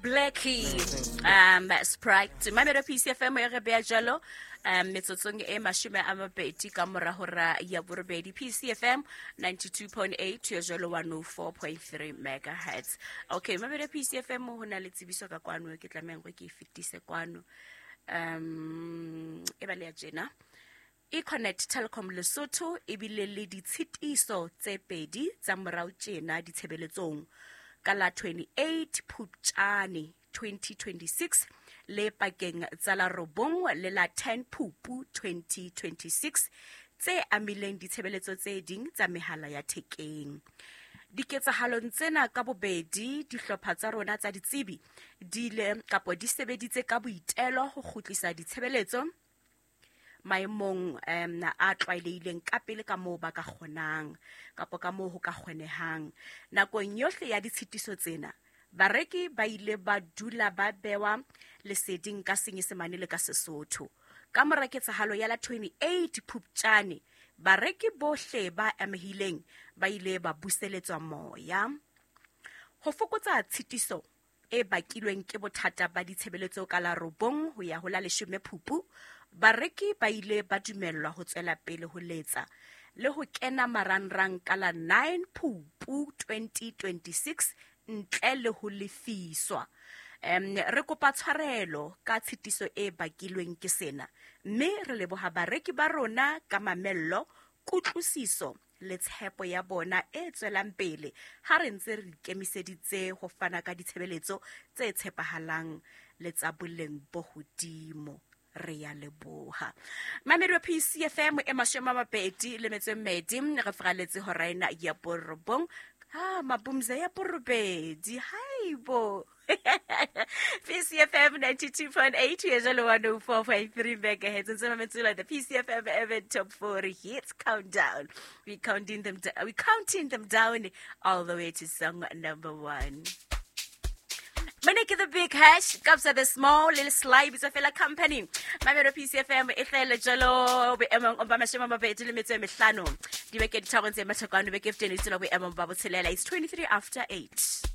Blackie Sprite Mamelo PCFM e re beya jalo metsotsong e 20 ka mora hora ya borobedi. PCFM 92.8 ya jalo 104.3 megahertz. Okay, Mamelo PCFM, ho na le tsebiso ka kwano ke tlamehang gore ke e fetise kwano. E ba le ya tjena. Econet Telkom Lesotho e bile le ditshitiso tse pedi tsa morao tjena ditshebeletsong ka la 28 Phuptjane 2026 le pakeng tsa la 9 le la 10 Phupu 2026 tse amileng ditshebeletso tse ding tsa mehala ya thekeng. Diketsahalong tsena ka bobedi, dihlopha tsa rona tsa ditsebi di ile kapo di sebeditse ka boitelo ho kgutlisa ditshebeletso maemong a tlwaelehileng ka pele ka moo ba ka kgonang kapo ka moo ho ka kgonehang. Nakong yohle ya ditshitiso tsena, bareki ba ile ba dula ba bewa leseding ka Senyesemane le ka Sesotho. Ka mora ketsahalo ya la 28 Phuptjane, bareki bohle ba amehileng ba ile ba buseletswa moya. Ho fokotsa tshitiso e bakilweng ke bothata ba ditshebeletso ka la 9 ho ya ho la 10 Phupu, bareki ba ile ba dumellwa ho tswela pele ho letsa le ho kena marangrang ka la 9 Phupu 2026 ntle le ho lefiswa. Re kopa tshwarelo ka tshitiso e bakilweng ke sena, mme re leboha bareki ba rona ka mamello, kutlwisiso le tshepo ya bona e tswelang pele ha re ntse re ikemiseditse ho fana ka ditshebeletso tse tshepahalang le tsa boleng bo hodimo. Re ya leboha. Mamedi wa PCFM e 22, re fraletse hora ena ya 9. Ha mabumza ya 8. Haibo. PCFM 92.8 ya jalo 104.3 megahertz. Ntse mametse the PCFM Urban Top 40 Hits Countdown. We counting them down all the way to song number 1. Maneke the Big Hash, Kabza the Small, Lil Sly, bitsa fela company. Mamelo PCFM e hlahela jalo boemong ba 25. Dibeke di tharong tse mathokano beke feteng e tsela boemong ba 6. It's 23 after 8.